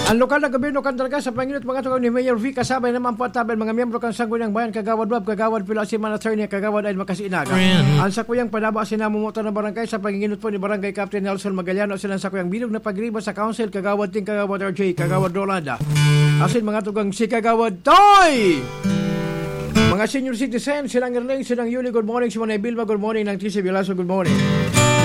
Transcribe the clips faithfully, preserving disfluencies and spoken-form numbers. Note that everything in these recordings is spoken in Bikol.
Ang lokal na gobyerno kan Darga sa panginot mga tugang ni Mayor V kasabay naman po at tabi ang mga miyembro kan Sangguniang Bayan, Kagawad Rob, Kagawad Pilo, Asiman Attorney, Kagawad Ayn Makas Inaga. Ang sakuyang panaba asin namomotan ng barangay sa panginginot po ni Barangay Captain Nelson Magaliano asin ang sakuyang bilog na pagriba sa Council, Kagawad Ting, Kagawad R J, Kagawad Rolanda. Asin mga tugang si Kagawad Toy! Mga senior citizen, silang Erling, silang Yuli, good morning. Si Manay Vilma, good morning. Nang T C Bilaso, good morning.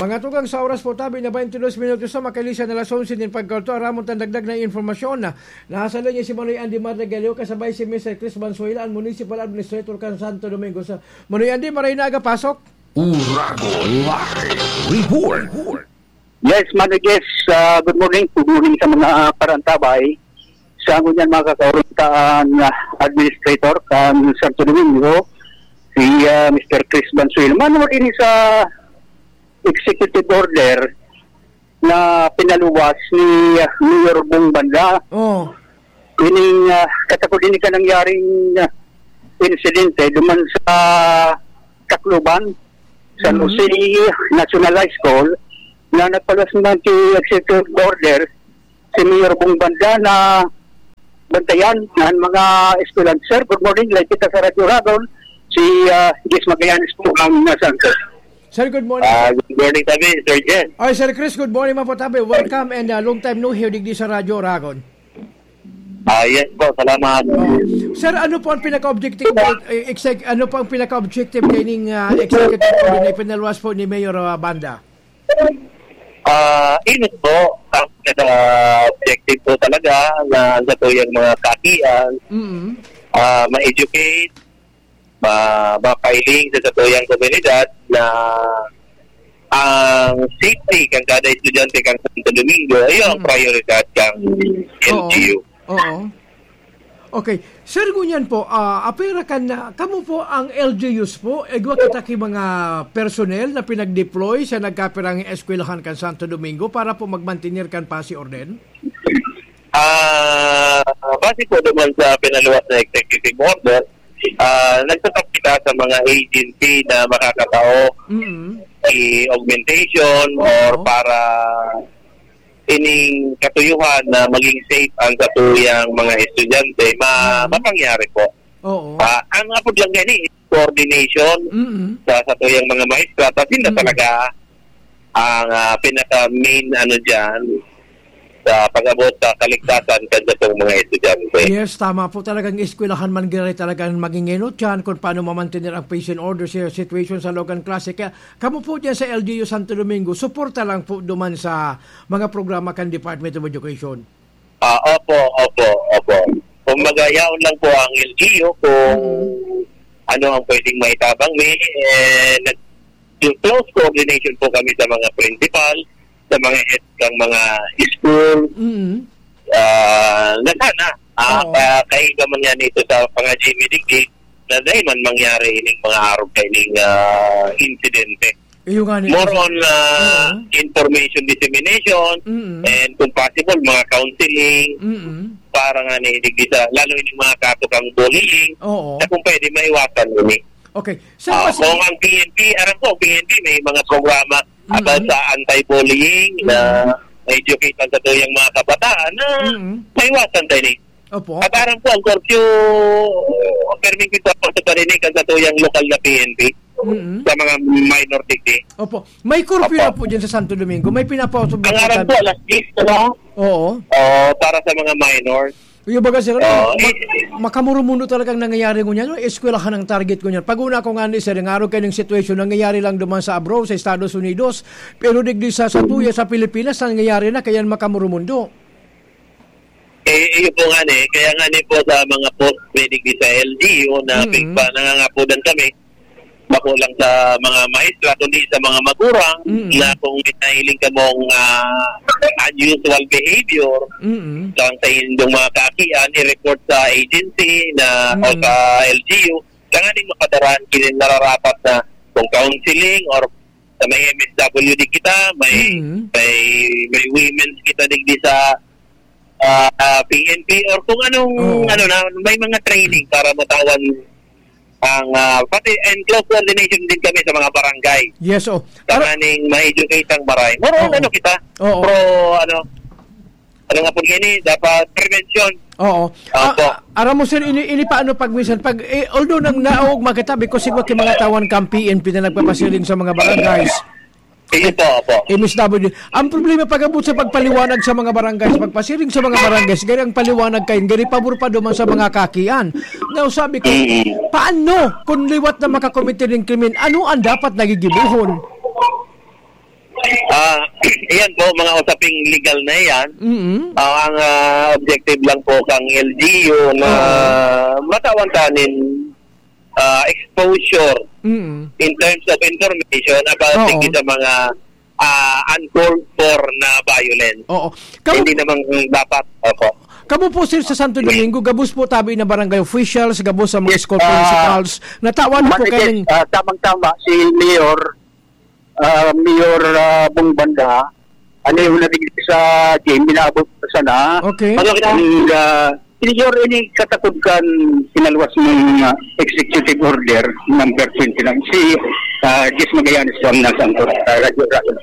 Mga tugang sa oras po, tabi na twenty-two minutos na, makalisa na alas onse din pagkalto. Aramon tan dagdag na informasyon na nasa linya si Manoy Andy Marregaleo, kasabay si Mister Chris Banzuela, ang municipal administrator kan Santo Domingo. Sa Manoy Andy, maray na aga pasok. Uragon Live Report. Yes, Manoy Jess, ah, good morning. Good morning sa mga parantabay. Sa ngunyan, mga kakauruntaan, ah, administrator kan Santo Domingo, si, ah, Mister Chris Banzuela. Mano ini sa executive order na pinaluwas ni, ah, Mayor Bong Banda. Oh. Ining, ah, katakod ini ka nangyaring, ah, insidente duman sa Tacloban, San Mhm. Jose National High School, na nagpaluwas naman ki executive order si Mayor Bong Banda na bantayan na ang mga eskwelahan. Sir, good morning. Live kita sa Radyo Ragon. Si, ah, Jess Magallanes po ang nasa, sir. Sir, good morning. Ah, good morning, tabi, Sir Jen. Ay, Sir Chris, good morning man po, tabi. Welcome and, ah, long time no hear digdi sa Radyo Ragon. Ah, yes po, salamat. Oh. Sir, ano po ang pinaka-objective, eh, exec-, ano po ang pinaka-objective kaining, ah, executive order na ipinaluwas po ni Mayor, ah, Banda? Ah, inot po. Ang pinaka-objective po talaga na sa tuyang mga kakian, Mm. ah, ma-educate, ma-, mapailing sa satuyang komunidad na ang safety kan kada estudyante kan Santo Domingo, iyo ang Mm. prioridad kan Oo. L G U. Oo. Okay. Sir, ngunyan po, ah, apera kan, ah, kamo po ang L G Us po, igwa kita ki mga personnel na pinag-deploy sa nagkapirang eskwelahan kan Santo Domingo para po magmantener kan pasi orden? Ah, base po naman sa pinaluwas na executive order, ah, nagtatap kita sa mga agency na makakatao Mm. i-augmentation or Oo. para ining katuyuhan na maging safe ang satuyang mga estudyante, ma-, Mm. mapangyari po. Oo. Ah, ang apod lang gani is coordination Mm. sa satuyang mga maestra, tapos yun na Mm. talaga ang, ah, pinaka-main, ano, dyan sa pag-abot sa kaligtasan kan satong mga estudyante. Yes, tama po. Talagang eskwelahan man giraray talagang mangingenot dyan kung paano mamantener ang peace and order sa situation sa loob kan klase. Kaya kamo po dyan sa L G U Santo Domingo, suporta lang po duman sa mga programa kan Department of Education. Ah, opo, opo, opo. Kumbaga, yaon lang po ang L G U kung Mm. ano ang pwedeng maitabang. May, eh, nag-, close coordination po kami sa mga principal, sa mga head ng mga school. Mm. Ah, na sana, ah, Oo. ka-, kaiba man yan ito sa mga Jimmy Digdig, na dahil man mangyari ining mga arog kaining, ah, insidente. Iyo nga ni More on, ah, Oo. information dissemination, Mm. and kung possible, mga counseling, Mm. para nga ni digdi sa, lalo yung mga kaso kang bullying, Oo. na kung pwede, maiwasan yun eh. Okay. Sir, Ah, mas- kung ang P N P, aram ko, P N P may mga programa about Mm. sa anti-bullying na Mm. educate ang satuyang mga kabataan na Mm. maiwasan tayo ni. Opo. At aram ko, ang curfew, perming kita po sa parinig ang satuyang lokal na P N P Mm. sa mga minor digdi. Opo. May curfew Opo. na po dyan sa Santo Domingo. May pinapautob na Ang po aram tabi- ko, alas diyes, ano? Oo. Oo, para sa mga minors. Yung baga, sir, ano, Oo, ma-, eh, makamurumundo talagang nangyayari ngunyan, no? Eskwelahan ang target ngunyan. Pag una ko nga ni, sir, ang araw kayo ng sitwasyon, nangyayari lang duman sa abroad, sa Estados Unidos. Pero digdi sa, sa tuya, sa Pilipinas, nangyayari na, kaya makamurumundo. Eh, iyo po nga ni, kaya nga ni po sa mga post pwede di sa L G U na Mm. big pa, nangangapodan kami, bako lang sa mga maestra, kundi sa mga magurang Mm. na kung may nahiling kamong, ah, unusual behavior, Mm. kang sa inyong mga kakian, i-report sa agency na, o Mm. sa L G U, tanganing mapadaraan kini nararapat na kung counseling or sa may M S W D kita, may, Mm. may, may women's kita digdi sa, ah, ah, P N P or kung anong, Oo. ano na, may mga training para matawan ang, ah, pati and close coordination din kami sa mga barangay. Yes, oh. Para Tanganing ma-educate ang maray. More on Oo. ano kita? Oo. Pro, ano, ano nga po ini, dapat prevention. Oo. Opo. Ah, ah, aram mo, sir, ini, ini paano pag minsan, pag, eh, although nang naog, makitabi ko, siguro kay mga tawan kang P N P na nagpapasiring sa mga barangays. Sige po, opo. M S W. Ang problema, pag-abot sa pagpaliwanag sa mga barangays, pagpasiring sa mga barangays, gari ang paliwanag kayo, gari pabor pa duman sa mga kakian. Now, sabi ko, Mm. paano kung liwat na makakomite ng krimen, ano ang dapat nagigibuhon? Ah, iyan po, mga usaping legal na iyan. Mm. Ah, ang, ah, objective lang po kang L G U na Oo. matawan tanin, ah, exposure Mm. in terms of information about Oo. sige sa mga, ah, uncalled for na violence. Oo. Kamo Hindi namang dapat. Opo. Kamo po, sir, sa Santo Domingo, gabos po tabi na barangay officials, gabos sa mga Yes, school ah, principals. Natawan po Marites, kayo ng ah, tamang-tama, si Mayor, ah, Mayor, ah, Bong Banda, ano yung nabigay sa game, inaabot ko sana. Okay. Ano kita? And, ah, Mayor, ini katakod kan pinaluwas ng, ah, executive order number twenty-nine. Si, ah, Jess Magallanes po ang nasa, ah, Radyo Raso.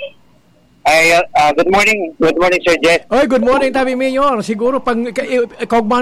Ay, ah, good morning. Good morning, Sir Jess. Oy, good morning, tabi Mayor. Siguro, pag, ka-, eh, kaugmahan